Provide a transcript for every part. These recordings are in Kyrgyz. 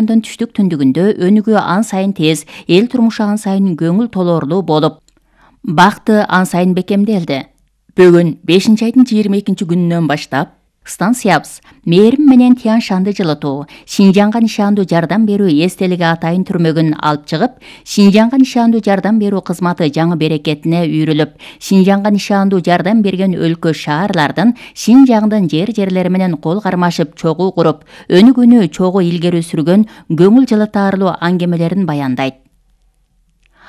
районунун түштүк түндүгүндө өнүгүү ан сайын тез, эл турмушу ан сайын көңүл толоорлуу болуп, бакты ан сайын бекемделди. Бүгүн 5-айдын 22-күнүнөн баштап станциябыз мээрим менен Тянь Шанды жылытуу, Шинжаңга нишандуу жардам берүү эстелиги атайын түрмөгүн алып чыгып, Шинжаңга нишандуу жардам берүү кызматы жаңы берекетине үйрүлүп, Шинжаңга нишандуу жардам берген өлкө шаарлардын Шинжаңдын жерлери менен кол кармашып чогуу куруп, өнүгүүнү чогуу илгери сүргөн көңүл жылытарлуу аңгемелерин баяндайт.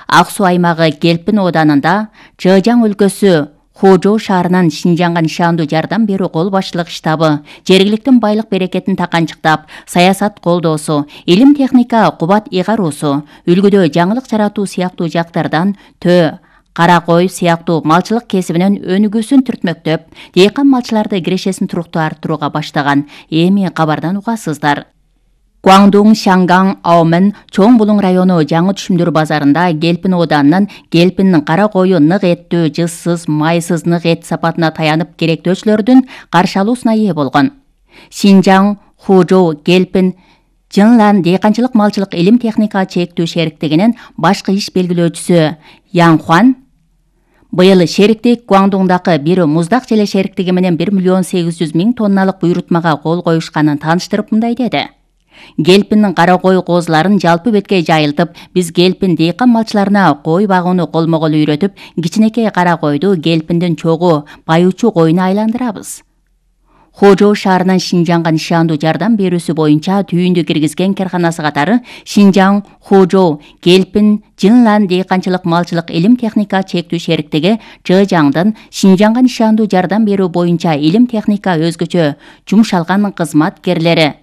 Ак Суу аймагы Гелпин ооданында Чжэжьяң өлкөсү Хужоу шаарынын Шинжаңга нишандуу жардам берүү кол башчылык штабы жергиликтин байлык берекетин таканчыктап, саясат колдоосу, илим техника кубат ыйгаруусу, үлгүдө жаңылык жаратуу сыяктуу жактардан төө, кара кой сыяктуу малчылык кесибинин өнүгүүсүн түртмөктөп, дыйкан малчыларды кирешесин туруктуу арттырууга баштаган. Эми кабардан угасыздар. Гуандун, Шангаң, Аомен, Чоң Булуң району жаңы түшүмдөр базарында Гелпин ооданынын Гелпиндин кара кою нык эттүү, жызсыз, майсыз нык эт сапатына таянып керектөөчүлөрдүн каршы алуусуна ээ болгон. Шинжаң, Хужоу, Гелпин, Жынлан дыйканчылык малчылык илим техника чектүү шериктигинин башкы иш белгилөөчүсү Яң Хуан быйыл шериктик Гуандуңдагы бир муздак желе шериктиги менен 1,8 миллион тонналык буйрутмага кол коюшканын тааныштырып мындай деди. Гелпиндин кара кой коозуларын жалпы бетке жайылтып, биз Гелпин дыйкан малчыларына кой багууну колмо-кол үйрөтүп, кичинекей кара койду Гелпиндин чогуу байучу коюна айландырабыз. Хожоу шаарынын Шинжаңга нишандуу жардам берүүсү боюнча түйүндү киргизген карканасы катары Шинжаң, Хожоу, Гелпин, Жынлан дыйканчылык малчылык илим техника чектүү шериктиги Чжэжьяңдын Шинжаңга нишандуу жардам берүү боюнча илим техника өзгөчө жумшалган кызматкерлери,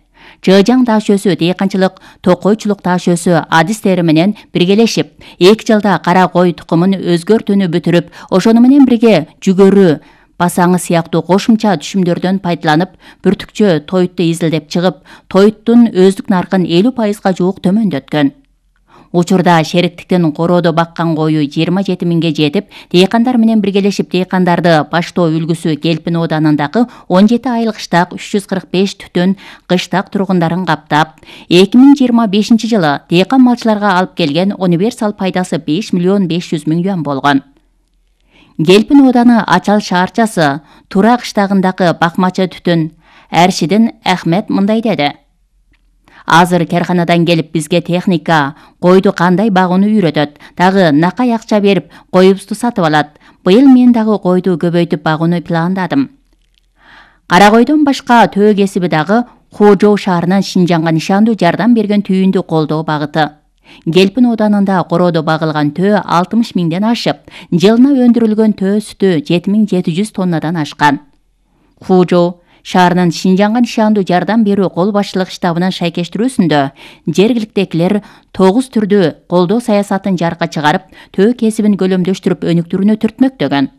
Чжэжьяң даашөсү дыйканчылык, токойчулук даашөсү адистери менен биргелешип, 2 жылда кара кой тукумун өзгөртүүнү бүтүрүп, ошону менен бирге жүгөрү, басаңы сыяктуу кошумча түшүмдөрдөн пайдаланып, бүртүкчө тоютту изилдеп чыгып, тоюттун өздүк наркын 50% жуук төмөндөткөн. Учурда шериктиктин короодо баккан кою 27 миңге жетип, дыйкандар менен биргелешип дыйкандарды баштоо үлгүсү Гелпин ооданындагы 17 айлык штак 345 түтүн кыштак тургундарын каптап, 2025 жылы дыйкан малчыларга алып келген универсал пайдасы 5,5 миллион болгон. Гелпин ооданы Ачал шаарчасы Тура кыштагындагы бакмачы түтүн Әршидин Ахмет мындай деди. Азыр карканадан келип бизге техника койду кандай багууну үйрөтөт, дагы накай акча берип коюбузду сатып алат. Быйыл мен дагы койду көбөйтүп багууну пландадым. Кара койдон башка төө кесиби дагы Хожоу шаарынын Шинжаңга нишандуу жардам берген түйүндү колдоо багыты. Гелпин ооданында короодо багылган төө 60 миңден ашып, жылына өндүрүлгөн төө сүтү 7700 тоннадан ашкан. Хожоу шаарынын Шинжаңга нишандуу жардам берүү кол башчылык штабынын шайкештирүүсүндө жергиликтегилер 9 түрдүү колдоо саясатын жаркка чыгарып, төө кесибин көлөмдөштүрүп өнүктүрүүнү түртмөктөгөн.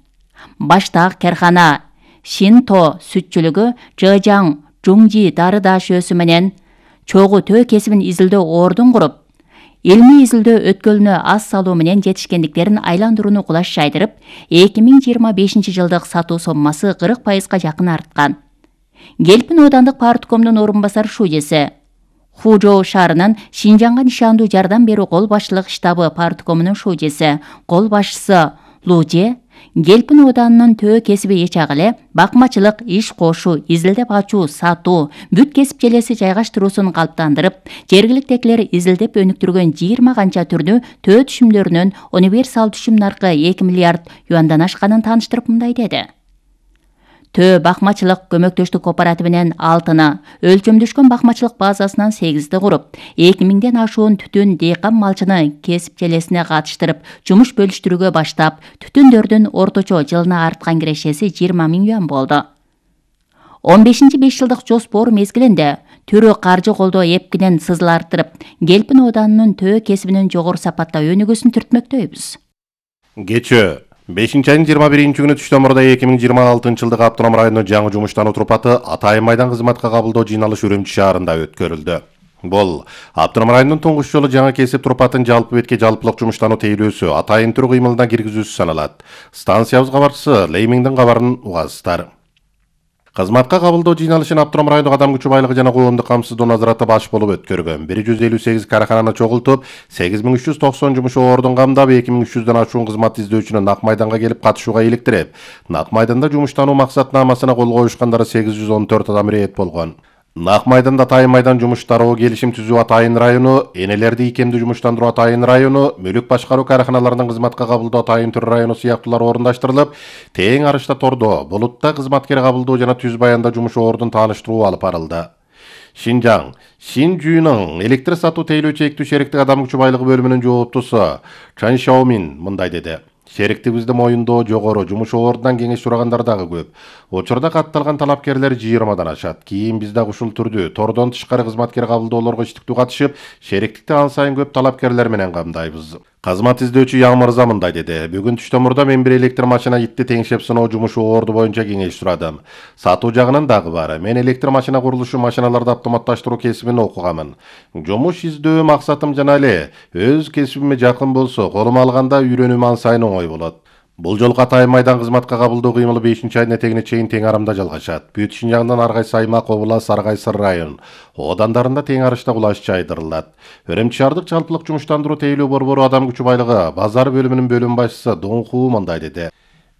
Баштак каркана Шинто сүтчүлүгү Чжэжьяң Жуңжи дары даашөсү менен чогуу төө кесибин изилдөө ордун куруп, илмий изилдөө өткөлүнө аз салуу менен жетишкендиктерин айландырууну кулаш жайдырып, 2025 жылдык сатуу соммасы 40%га жакын арткан. Гелпин оодандык парткомдун орун басар шужеси, Хужоу шаарынын Шинжаңга нишандуу жардам берүү кол башчылык штабы парткомунун шужеси, кол башчысы Луже, Гелпин ооданынын төө кесиби ичак эле бакмачылык, иш кошуу, изилдеп ачуу, сатуу, бүт кесип желеси жайгаштыруусун калыптандырып, жергиликтегилер изилдеп өнүктүргөн 20 канча түрдүү төө түшүмдөрүнүн универсал түшүм наркы 2 миллиард юандан ашканын тааныштырып мындай деди. Төө бакмачылык көмөктөштүк кооперативинен 6-ны, өлчөмдөшкөн бакмачылык базасынан 8-ди куруп, 2000ден ашуун түтүн дыйкан малчыны кесип желесине катыштырып, жумуш бөлүштүрүүгө баштап, түтүндөрдүн орточо жылына арткан кирешеси 20 миң юан болду. 15-5 жылдык жоспор мезгилинде түрү каржы колдоо эпкинен сызыл арттырып, Гелпин ооданынын төө кесибинин жогору сапатта өнүгүүсүн түртмөктөйбүз. Кечээ 5-айдын 21-күнү түштөмөрдө 2026 жылдык Автоном районунун жаңы жумуштануу турпаты Атайын майдан кызматка кабылдоо жыйналышы Үрүмчү шаарында өткөрүлдү. Бул Автоном районунун туңгуч жолу жаңы кесип турпатын жалпы бетке жалпылык жумуштануу тейлөөсү, атайын түр кыймылына киргизүүсү саналат. Станциябыз кабарчысы Леймиңдин кабарын угасыздар. Кызматка кабылдоо жыйналышын Автоном райондук адам күчү байлыгы жана коомдук камсыздоо назараты баш болуп өткөргөн. 158 карахананы чогултуп, 8390 жумуш ордун камдап, 2300дөн ашуун кызмат издөөчүнү Нак майданга келип катышууга иликтирип, Нак майданда жумуштануу максатнамасына кол коюшкандары 814 адам ирет болгон. Нак майданда Атайын майдан жумуштаруу келишим түзүү Атайын району, энелерди икемдүү жумуштандыруу Атайын району, мүлүк башкаруу караханаларынын кызматка кабылдоо Атайын Түр району сыяктуулар орундаштырылып, тең арышта тордо, Булутта кызматкер кабылдоо жана Түз Баянда жумуш ордун тааныштыруу алып барылды. Шинжаң Шинжүүнүн электр сатуу тейлөө чектүү шериктик адам күчү байлыгы бөлүмүнүн жооптусу Чан Шаомин мындай деди. Шериктигибизде моюндоо жогору, жумуш ордунан кеңеш сурагандар дагы көп. Учурда катталган талапкерлер 20дан ашат. Кийин биз дагы ушул түрдүү тордон тышкары кызматкер кабылдоолорго иштиктүү катышып, шериктикти ан сайын көп талапкерлер менен камдайбыз. Кызмат издөөчү Яң Мырза мындай деди. Бүгүн түштөмурда мен бир электр машина итти теңшеп сыноо жумушу орду боюнча кеңеш сурадым. Сатуу жагынан дагы бар. Мен электр машина курулушу, машиналарды автоматташтыруу кесибин окугамын. Жумуш издөө максатым жана эле өз кесибиме жакын болсо, колума алганда үйрөнүүм ан сайын оңой болот. Бул жолку Атайын майдан кызматка кабылдоо кыймылы 5-айдын этегине чейин тең арамда жалгашат. Бүт Шинжаңдан ар кайсы аймак, област, ар кайсы район, одандарында тең арышта кулаш жайдырылат. Өрөмчү шаардык жалпылык жумуштандыруу тейлөө борбору адам күчү байлыгы базар бөлүмүнүн бөлүм башчысы Донху мындай деди.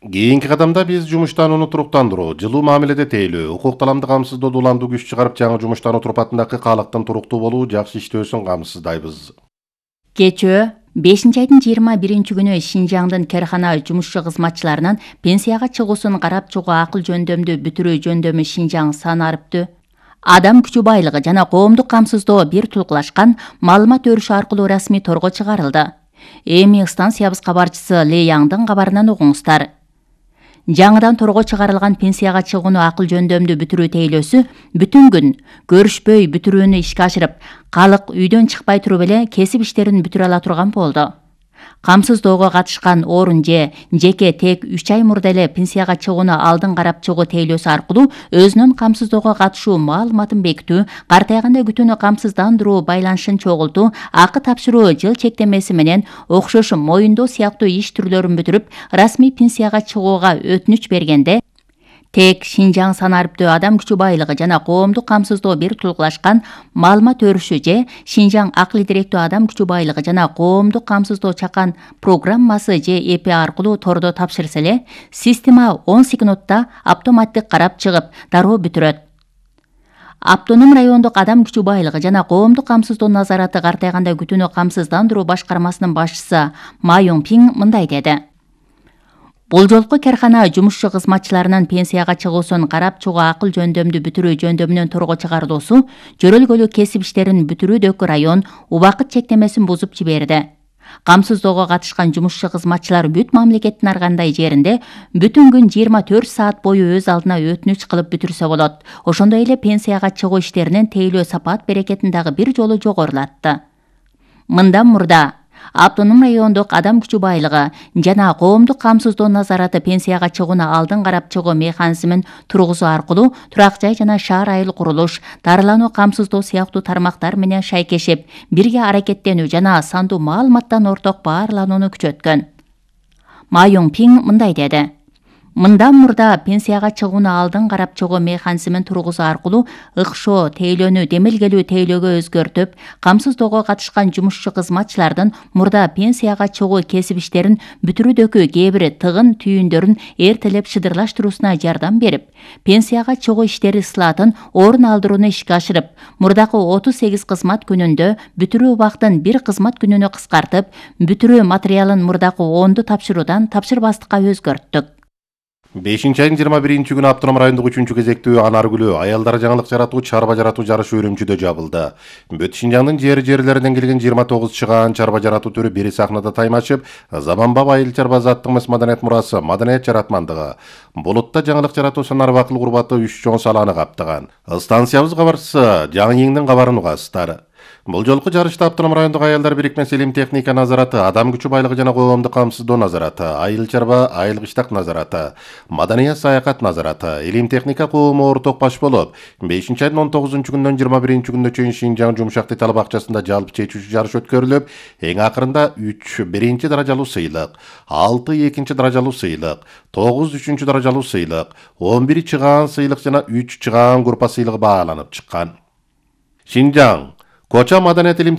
Кийинки кадамда биз жумуштанууну туруктандыруу, жылуу мамиледе тейлөө, укук таламды камсыздоодо уламдуу күч чыгарып, жаңы жумуштануу турпатындагы калыктын туруктуу болуу, жакшы иштөөсүн камсыздайбыз. Кечөө 5-айдын 21 күнү Шинжаңдын керхана жумушчу кызматчыларынын пенсияга чыгуусун карап чыгуу акыл жөндөмдү бүтүрүү жөндөмү Шинжаң санарыптуу адам күчү байлыгы жана коомдук камсыздоо бир тулкулашкан маалымат өрүшү аркылуу расмий торго чыгарылды. Эми станциябыз кабарчысы Ле Яңдын кабарынан угуңуздар. Жаңыдан торго чыгарылган пенсияга чыгууну акыл жөндөмдү бүтүрүү тейлөөсү бүтүн күн көрүшпөй бүтүрүүнү ишке ашырып, калык үйдөн чыкпай туруп эле кесип иштерин бүтүрө ала турган болду. Камсыздоого катышкан орун жеке тек 3 ай мурда эле пенсияга чыгууну алдын карап чыгуу тейлөөсү аркылуу өзүнүн камсыздоого катышуу маалыматын бекитүү, картайганда күтүүнү камсыздандыруу байланышын чогултуу, акы тапшыруу жыл чектемеси менен окшош моюндоо сыяктуу иш түрлөрүн бүтүрүп, расмий пенсияга чыгууга өтүнүч бергенде тек Шинжаң санарыптуу адам күчү байлыгы жана коомдук камсыздоо бир тулкулашкан маалымат өрүшү Шинжаң акыл директүү адам күчү байлыгы жана коомдук камсыздоо чакан программасы ЭП аркылуу тордо тапшырса эле, система 10 секундта автоматтык карап чыгып, дароо бүтүрөт. Автоном райондук адам күчү байлыгы жана коомдук камсыздоо назараты картайганда күтүүнү камсыздандыруу башкармасынын башчысы Ма Юңпиң мындай деди. Бул жолку керхана жумушчу кызматчыларынын пенсияга чыгуусун карап чыгуу акыл жөндөмдү бүтүрүү жөндөмүнүн торго чыгарылуусу жөрөлгөлүү кесип иштерин бүтүрүүдөгү район убакыт чектемесин бузуп жиберди. Камсыздоого катышкан жумушчу кызматчылар бүт мамлекеттин ар кандай жеринде бүтүн күн 24 саат бою өз алдына өтүнүч кылып бүтүрсө болот. Ошондой эле пенсияга чыгуу иштеринин тейлөө сапат берекетин дагы бир жолу жогорулатты. Мындан мурда Автоном райондук адам күчү байлыгы жана коомдук камсыздоо назараты пенсияга чыгууну алдын карап чыгуу механизмин тургузуу аркылуу турак жай жана шаар айыл курулуш, дарылануу камсыздоо сыяктуу тармактар менен шайкешип, бирге аракеттенүү жана сандуу маалыматтан орток баарланууну күчөткөн. Ма Юңпиң мындай деди. Мындан мурда пенсияга чыгууну алдын карап чыгуу механизмин тургузуу аркылуу ыкшоо тейлөөнү демилгелүү тейлөөгө өзгөртүп, камсыздоого катышкан жумушчу кызматчылардын мурда пенсияга чыгуу кесип иштерин бүтүрүүдөгү кээ бир тыгын түйүндөрүн эртелеп шыдырлаштырууна жардам берип, пенсияга чыгуу иштери ысылатын орун алдырууну ишке ашырып, мурдакы 38 кызмат күнүндө бүтүрүү убактын 1 кызмат күнүнө кыскартып, бүтүрүү материалын мурдакы 10ду тапшыруудан тапшырбастыкка өзгөрттүк. 5-айдын 21 күнү Автоном райондук 3-чү кезектүү анаргүлүү аялдар жаңылык жаратуу, чарба жаратуу жарышы Үрүмчүдө жабылды. Бүт Шинжаңдын жерлеринен келген 29 чыгаан чарба жаратуу түрү бир сахнада таймашып, заманбап айыл чарбазаттык маданият мурасы, маданият жаратмандыгы. Булутта жаңылык жаратуу санар бакыл курбаты 3 чоң саланы каптаган. Станциябыз кабарчысы Жаңы Эңдин кабарын угасыздар. Бул жолку жарышта Автоном райондук аялдар бирикмеси илим техника назараты, адам күчү байлыгы жана коомдук камсыздоо назараты, айыл чарба, айыл кыштак назараты, маданият саякат назараты, илим техника коому орток баш болуп, 5-айдын 19-күнүнөн 21-күнүнө чейин Шинжаң Жумшак детал бакчасында жалпы чечүүчү жарыш өткөрүлүп, эң акырында 3 биринчи даражалуу сыйлык, 6 экинчи даражалуу сыйлык, 9 үчүнчү даражалуу сыйлык, 11 чыгаан сыйлык жана 3 чыгаан группа сыйлыгы бааланып чыккан. Шинжаң Коча маданият илим